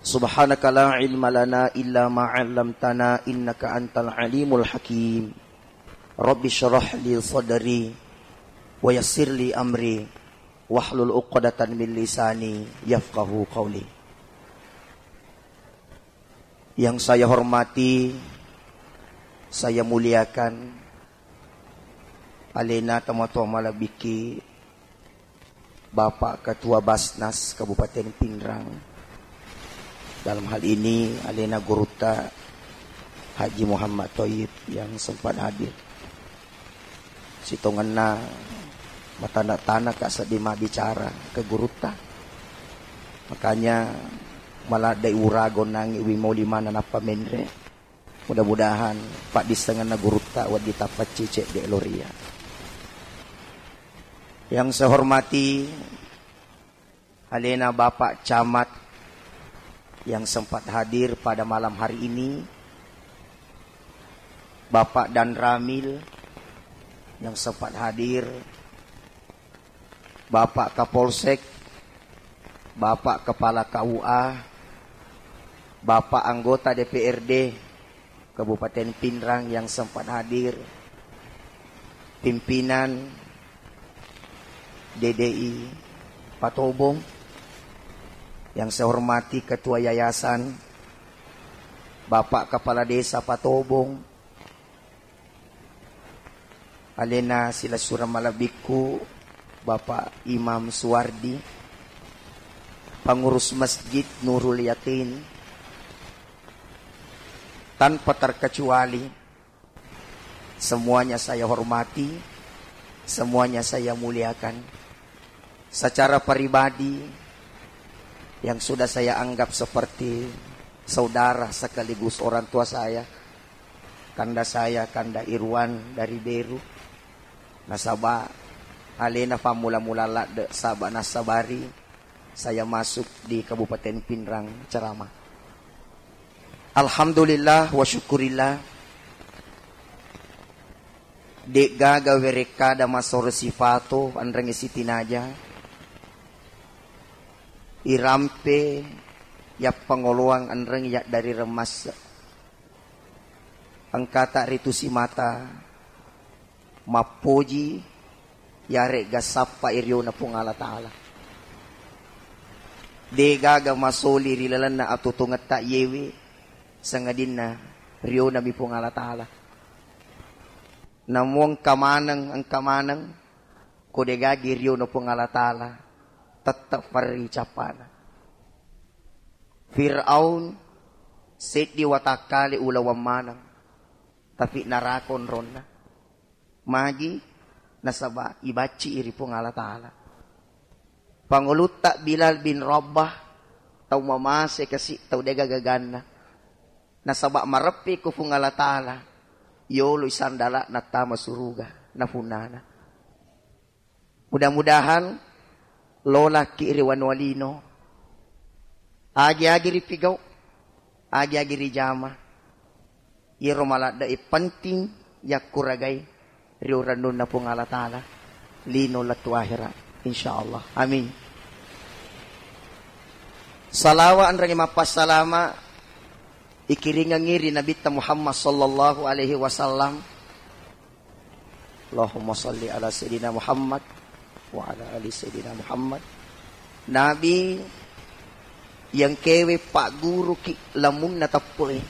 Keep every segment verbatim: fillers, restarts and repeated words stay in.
Subhanaka la ilma lana illa ma 'allamtana innaka antal alimul hakim. Rabbi syrah li sadri wa yassir li amri wahlul 'uqdatan min lisani yafqahu qawli. Yang saya hormati, saya muliakan, alena tomatoa malebbikki Bapak Ketua Basnas Kabupaten Pinrang. Dalam hal ini, alena gurutta Haji Muhammad Thoyib yang sempat hadir. Sitongenna matana-tana ka seddi mabbicara ke gurutta. Makanya maladde urago nangi wi moli mana nappa menre. Mudah-mudahan paddissengenna gurutta wedding tappaccicek de loria. Yang saya hormati alena Bapak Camat yang sempat hadir pada malam hari ini, Bapak Danramil yang sempat hadir, Bapak Kapolsek, Bapak Kepala K U A, Bapak anggota D P R D Kabupaten Pinrang yang sempat hadir, pimpinan D D I Patobong, yang saya hormati Ketua Yayasan, Bapak Kepala Desa Patobong, alena silessureng malebbikku, Bapak Imam Suwardi, pengurus Masjid Nurul Yakin, tanpa terkecuali, semuanya saya hormati, semuanya saya muliakan. Secara pribadi, yang sudah saya anggap seperti saudara sekaligus orang tua saya, kanda saya, Kanda Irwan dari Beru, nasaba alena fammula-mula ladde, saba nassabari saya masuk di Kabupaten Pinrang ceramah. Alhamdulillah wa syukurillah. De'gaga werekkada masoro sifato enrengnge sitinaja. Irampe yappangoloang enreng yaddari remmasse. Engkata ritu simata mappoji, yaregga sappai riona Puang Allah Ta'ala. De'gaga masoli ri lalenna atutungetta yewe, sangadinna rionami Puang Allah Ta'ala. Namo engka maneng, engka maneng, ko de'gagi riona Puang Allah Ta'ala, tette farri cappana. Fir'aun seddi watakkale ulaweng maneng, tapi naraka onronna. Magi? Nasaba ibacci ri Puang Allah Ta'ala. Pangulutta Bilal bin Rabah, tau mamase kasi, tau de'gaga ganna. Nasaba mareppe ko Puang Allah Ta'ala, yoloi sandala nattama suruga, napunnana. Mudah-mudahan lolaki ri wanua lino, agi-agi ripigau, agi-agi rijama. Iyaro maladde'e penting yakkuragai ri urennunna Puang Allah Ta'ala lino lettu ahera, insyaallah. Amin. Salawa enrengnge mappassalama ikiringengngi ri Nabitta Muhammad sallallahu alaihi wasallam. Allahumma salli ala Sayyidina Muhammad wa ala ali Sayyidina Muhammad. Nabi yang kewe pagguruki lamunna teppe'e.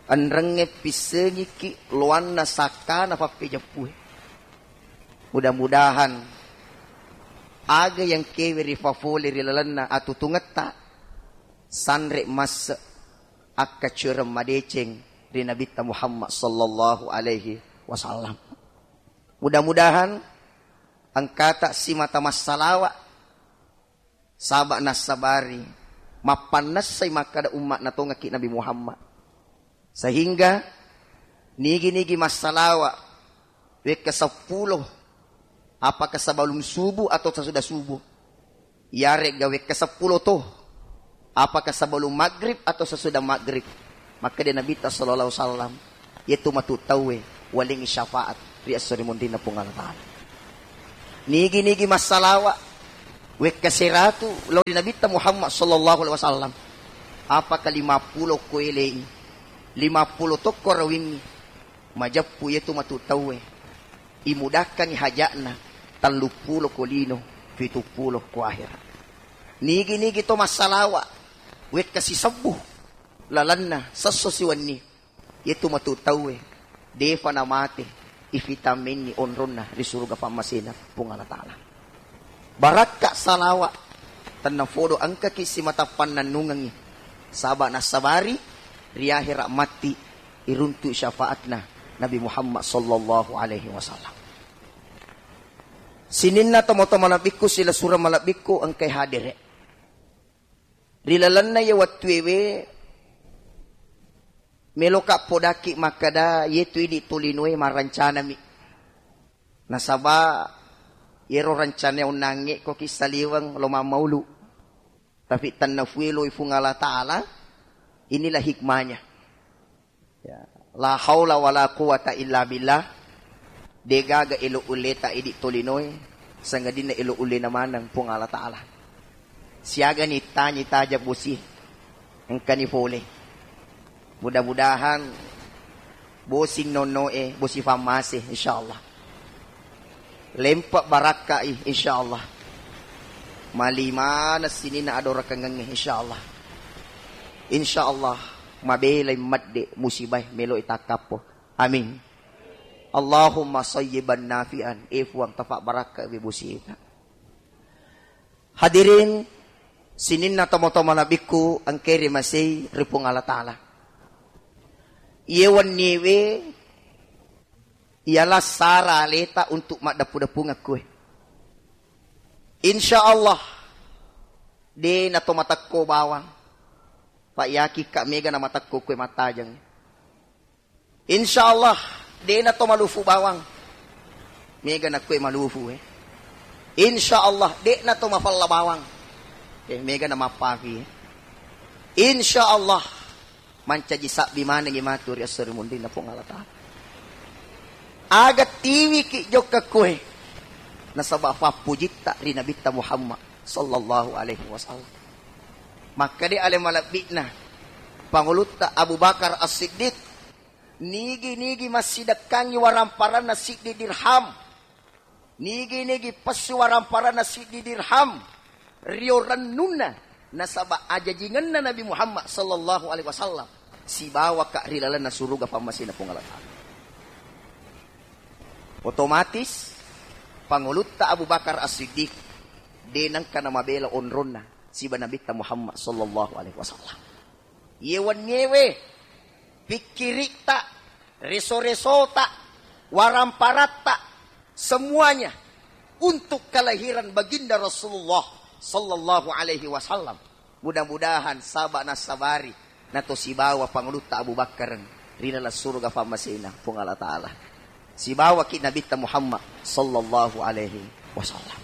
Enrengnge pissengiki loanna sakkana pappejeppue. Mudah-mudahan aga yang kewe rifafole ri lalenna atutungetta sanre masse akkacuereng madeceng ri Nabitta Muhammad sallallahu alaihi wasallam. Mudah-mudahan engkata simata massalawa saba nassabari mappannessai makkada umma natongaki Nabi Muhammad. Sehingga nigi-nigi massalawa wekka seppulo, apakah sebelum subuh atau sesudah subuh? Yaregga wekka seppulo to, apakah sebelum maghrib atau sesudah maghrib? Makkeda Nabitta sallallahu alaihi wasallam, yetu matu tauwe walengngi syafaat ri esso ri munrinna Puang Allah Ta'ala. Nigi-nigi massalawa Wekka seratu lao ri Nabitta Muhammad sallallahu alaihi wasallam. Apaka lima pulo ko elei? Lima pulo tokko rawingngi. Majeppu yetu matu tauwe. Imudakkangi haja'na tellu pulo ko lino, pitu pulo ko ahera. Nigi-nigi to massalawa wekka sisebbu lalenna sesso siwenni. Yetu matu tauwe defa namate, ifitamenni onronna ri suruga pammasena Puang Allah Ta'ala. Barakka salawa tennafodo engkaki simata pannennungengngi, saba nassabari ri ahera matti iruntu syafaatna Nabi Muhammad sallallahu alaihi wasallam. Sininna tomatoa malebbikku, silessureng malebbikku engkai hadere. Ri lalenna iye wettuewe, meloka podakki makkeda, yetu idi tolinoe marancanami. Nasaba yero rancana onnangnge ko kissaliweng lo mammaulu. Tapi tennafueloi Fuang Allah Ta'ala, inilah hikmahnya. Ya, la haula wala quwata illa billah. Degaga elo ulleta idi tolinoe, sangadinna elo ullena maneng Puang Allah Ta'ala. Siagani tanyi taja bosi, engkani fole. Mudah-mudahan bosi nonnoe, bosi fammase, insyaallah. Lempe barakkai, insyaallah. Mali maneng sininna adorakengengnge, insyaallah. Insyaallah, mabelai medde musibae meloi takkappo. Amin. Allahumma sayyiban nafi'an. E Fuang, tapa barakka we bosita. Hadirin, sininna tomatoa malebbiku engkae rimasei ri Puang Allah Ta'ala. Iye wenniewe, ialah sara aleta untuk maddeppu-deppungekku e. Insya Allah, de nato matekko bawang. Pak, yakikka mega na matekko kue mattajeng. Insya Allah, de nato malufu bawang. Mega na kue malufu e. Insya Allah, de nato mafalla bawang. Eh, mega na mappafi e. Insya Allah, mancaji sabbi manengngi matu ri esso ri munrinna Puang Allah Ta'ala. Aga tiwiki jokka kue, nasaba fappujitta ri Nabitta Muhammad sallallahu alaihi wasallam. Makkeda ale malebbi'na Pangulutta Abu Bakar As-Siddiq, nigi-nigi massidekkangngi waramparanna siddi dirham, nigi-nigi pessu waramparanna siddi dirham, rio rennunna, nasaba ajajingenna Nabi Muhammad sallallahu alaihi wasallam, sibawaka ri lalenna suruga pammasena Puang Allah Ta'ala. Otomatis, Pangulutta Abu Bakar As-Siddiq, de nengka namabela onronna siba Nabitta Muhammad sallallahu alaihi wasallam. Iye wenniewe, pikkiritta, reso-resota, waramparatta, semuanya untuk kelahiran Baginda Rasulullah sallallahu alaihi wasallam. Mudah-mudahan saba nassabari nato sibawa Pangulutta Abu Bakar ri laleng suruga pammasena Puang Allah Ta'ala. Sibawaki Nabitta Muhammad sallallahu alaihi wasallam.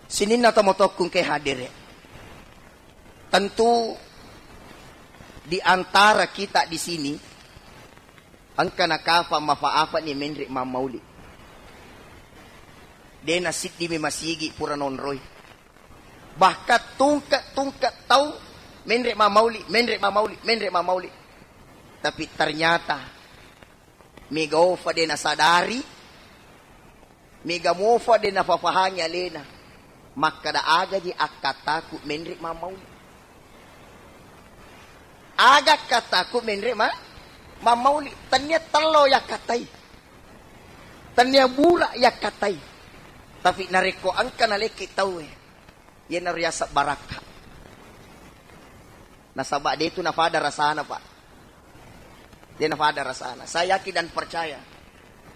Sininna tomatoakku engkae hadere. Tentu di antara kita di sini engka nakafa mafa-afani menre mammauli. De nasiddimi masigi pura nonroi. Bahkan tungke-tungke tau menre mammauli, menre mammauli, menre mammauli. Tapi ternyata mega ofa de nasadari, mega mofa de nafafahangi alena. Makkeda agaji akkataku menre mammauli. Aga akkataku menre ma-, mammauli. Tania tello yakkatai. Tania bura yakkatai. Tapi narekko engka nalekki tauwe, iyanaro yaseng barakka. Nasaba de tu nafada rasana, Pak. De nafada rasana. Saya yakin dan percaya,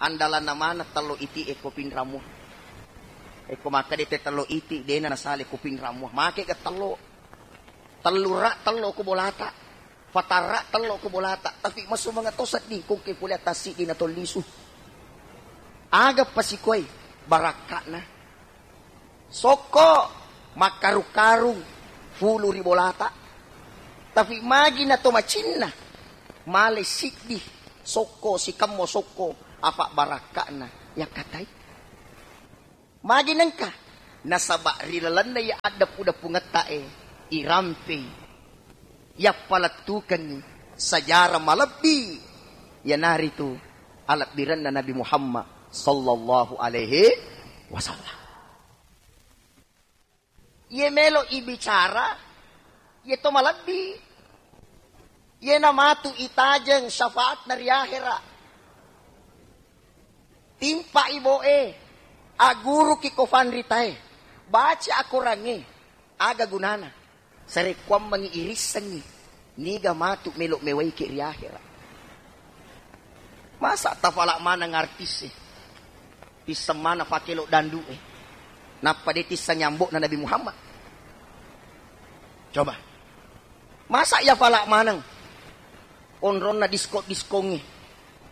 andalanna maneng tello iti e ko pinrammu. Eko makkeda te tello iti, dena nasale ko pinrammu. Make ga tello. Tellu rak tello ko bolata. Fatarra tello ko bolata. Tapi masumanga to sedding ko ke pole atas siddi na tollisu. Aga pasikoi barakkana. Sokko makkarung-karung fulu ri bolata. Tapi magi na to macinna, male siddi sokko, sikemmo sokko, afa barakkana yakkatai. Magi nengka Nasaba ri lalenna iya addeppu-deppungetta e, irampei, yappalettukengngi sejarah malebbi, iyanaritu alebbirenna Nabi Muhammad sallallahu alaihi wasallam. Iye melo ibicara, iye to malebbi. Iye namatu itajeng syafaatna ri ahera. Timpa iboe, aguruki ko fanritae, baca akorangnge, aga gunana? Sarekkuammengngi irissengngi, niga matu melo mewaiki ri ahera. Masa tafala maneng artis e, tisseng maneng fakelo dandu e, nappa de tisseng nyambokna Nabi Muhammad? Coba, masa iya fala maneng onronna disko-diskongnge,